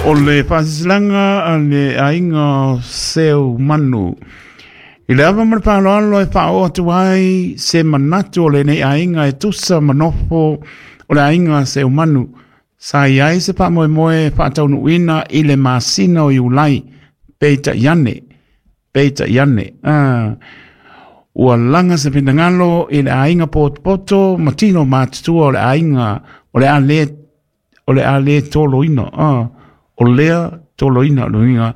O le faasilasilaga a le aiga o Seumanu. I le ava ma le faaaloalo e faaoo atu ai se manatu o lenei aiga e tusa ma nofo o le aiga Seumanu. Sa i ai se faamoemoe e faataunuuina i le masina o Iulai, peitai ane, peitai ane, ua laga se finagalo i le aiga potopoto ma tino matutua o le aiga o le a le o le a le toloina, o lea toloina, o lona uiga,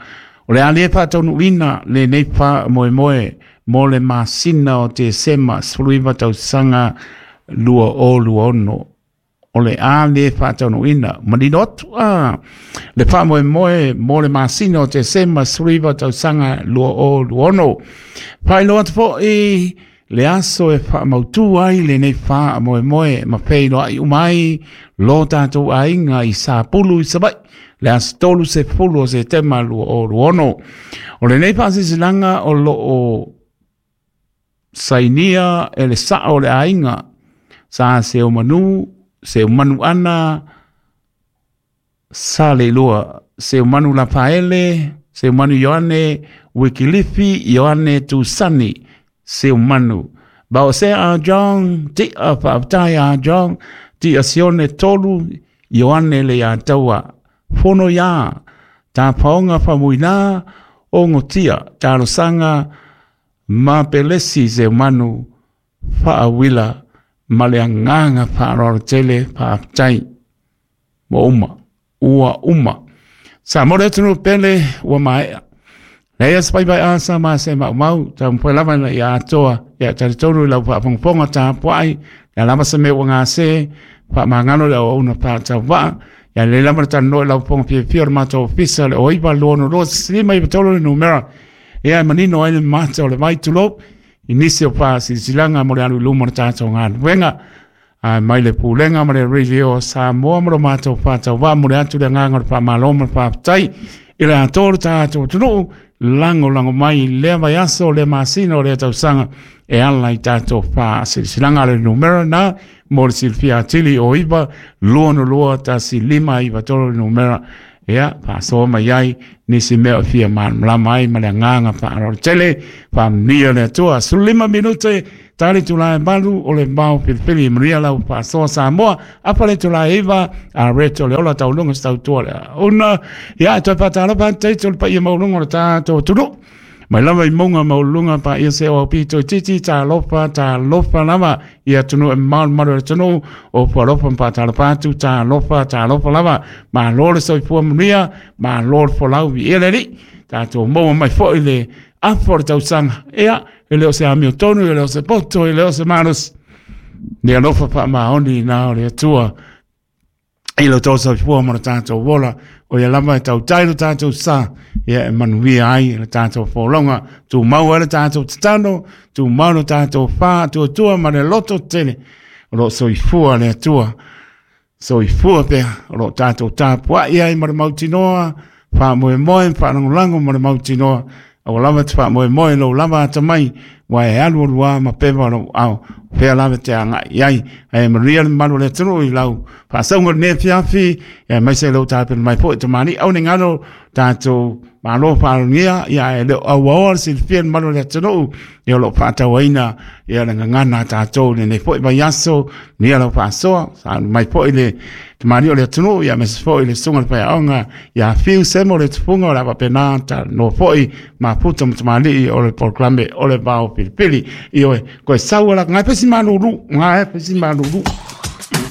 o le a le faataunuuina lenei faamoemoe mo le masina o Tesema 19 tausaga 2026. O le a le faataunuuina, manino atu le faamoemoe mo le masina o Tesema 19 tausaga 2026. Faailoa atu foi le aso e faamautu ai lenei faamoemoe ma feiloai uma ai lo tatou aiga i Sapulu i Savaii, le aso 30 o Setema 2026. O lenei faasilasilaga o lo o sainia e le sao o le aiga sa Seumanu, Seumanu Ana, Saleilua, Seumanu Lafaele, Seumanu Ioane, Wikilifi Ioane Tusani, Seumanu. Baose a John, Tia Faafetai a John, Tia Sione Tolu, Ioane le ia taua, Fono ia, Tapaonga Famuina, Ongotia, Talosaga, ma Pelesi Seumanu, Faawila, ma le agaga faaaloalo tele faafetai ua uma, ua uma. Sa mo le atunuu pele ua maea. Leai se paepae asa ma se maumau, taumafai lava ina ia atoa, ia talitonu i lau faafogafoga tapuai, ia lava se mea ua gase, faamagalo le auauna faatauvaa, ia lelei lava le talanoa i lau fofoga fiafia o le matou ofisa le 0922 593 le numera, ia e manino ai le mata o le vai tulou, i nisi o faasilasilaga mo le alu i luma o le tatou galuega. Ae mai le Pulega ma le Radio Samoa ma lo matou faatauvaa mo le atu le agaga o le faamalo ma le faafetai i le atoa o le tatou atunuu lagolago mai i lea vaiaso, lea masina, o lea tausaga e ala i tatou faasilasilaga. Le numera na mo le silafia atili o 9 2 2 1 5 9 3 le numera ia faasoa mai ai nisi mea o fia malamalama ai ma le agaga faaaloalo tele. Faamanuia le Atua. 15 minute tali itula e 8 o le vao filifili. Manuia lau faasoa Samoa. Afa le itula e 9 a reto le ola tauluga se tautua le una. Ia e toe faatalofa atu teito le paia maualuga o le tatou atunuu. Mai lava i mauga maualuluga paia se o au pito i titi, talofa, talofa lava i atunuu e mamao le malu o le atunuu, o fualofa ma faatalofa atu, talofa, talofa lava. Malo le soifua manuia, malo le folau, viia le Alii. Tatou maua mai foi le afa o le tausaga. Ia, e le o se amiotonu, e le o se poto, e le o se malosi. Le alofa faamaoni na o le Atua i lo outou soifua ma lo tatou ola, o ia lava e tautai lo tatou sa, ia e manuia ai le tatou folauga, tumau ai le tatou tatalo, tumau lo tatou faatuatua ma le loto tele, o lo o soifua le Atua, soifua pea, o lo o tatou tapuai ai ma le mautinoa, faamoemoe ma faalagolago ma le mautinoa, aua lava te faamoemoe i lou lava atamai, ua e alualu lava ma pepa o lou ao, o fea lava e te agai i ai. Ae manuia le mamalu o le atunuu i lau faasauga i lenei afiafi, aemaise lou tapena mai foi tamalii. Aua ne i galo tatou malo faalogia, ia ae le o auaoa le silafia i le mamalu o le atunuu, ia o lo o faatauaina ia le gagana a tatou i lenei foi vaiaso, manuia lau faasoa, sauni mai foi le tamalii o le atunuu, ia aemaise foi le susuga i le faiaoga ia Fiu Semo le tufuga o le a faapena talanoa foi mafuta ma tamalii o le polokalame o le vao filifili. Ioe, koe sau ala ngai pesi malulu, ngai pesi malulu.